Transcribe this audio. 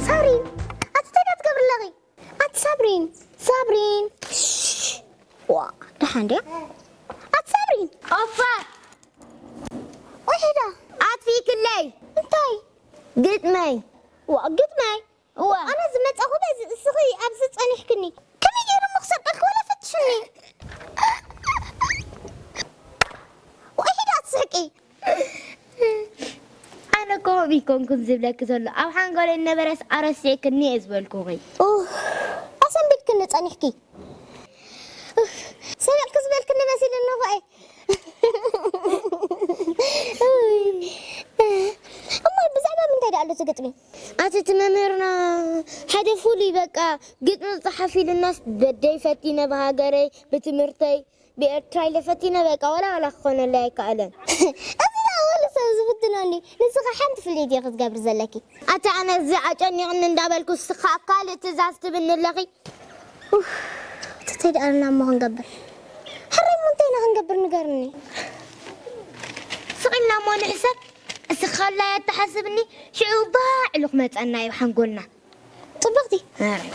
ሳብሪን፣ ኣቲ እንታይ ትገብሪ ኣለኺ? ኣቲ ሳብሪን፣ ሳብሪን። ሽሽ። ዋ፣ ደሓን ድያ? ኣቲ ሳብሪን። ኦፋ። ወይ ሄዳ። ኣጥፊእክለይ። እንታይ? ግጥመይ። ዋ፣ ግጥመይ? እዋ። ኣነ ዝመጻኹ በዚ፣ እስኺ ኣብዚ ጸኒሕክኒ። ከመይ ገይረ እሞ ክሰርቀልኪ ወላ ፈትሽኒ። ወይ ሄዳ ኣትስሕቂ። ኣነ እኮ ከምኡ ኣይኮንኩን ዝብለኪ ዘሎ። ኣብ ሓንጎለይ ነበረስ ኣረሲዕክኒ እየ ዝበልኩኺ። ኡፍ፣ ኣሰንቢድክኒ ጸኒሕኪ። ኡፍ፣ ሰረቕኪ ዝበልክኒ መሲሉኒ እኮ እየ። እሞ ብዛዕባ ምንታይ ደኣ ኣሎ እቲ ግጥሚ? ኣቲ እቲ መምህርና ሓደ ፍሉይ በቃ ግጥሚ ዝጸሓፍ ኢሉናስ በደይ ፈቲነ ብሃገረይ ብትምህርተይ ብኤርትራ ኢለ ፈቲነ በቃ ዋላ ዋላ ክኾነለይ ኣይከኣለን። እዚ ደኣ ወሉ ሰብ ዝፍትኖ እንድዩ። ንስኺ ሓንቲ ፍልይቲ ኢኺ ክትገብሪ ዘለኪ። ኣቲ ኣነ እዚ ኣጨኒቕኒ እንዳበልኩ እስኻ ካልእ ትእዛዝ ትብኒ ኣለኺ። ኡፍ፣ ተተይ ደኣ እሞ ክንገብር። ሕራይ እሞ እንታይ ኢና ክንገብር ንገርኒ። ስቕ ኢልና እሞ ንሕሰብ። እስኻ ኣላይ ኣተሓስብኒ። ሽዑ ባዕሉ ክመጸና እዩ ሓንጎልና። ጽብቕቲ። ሕራይ።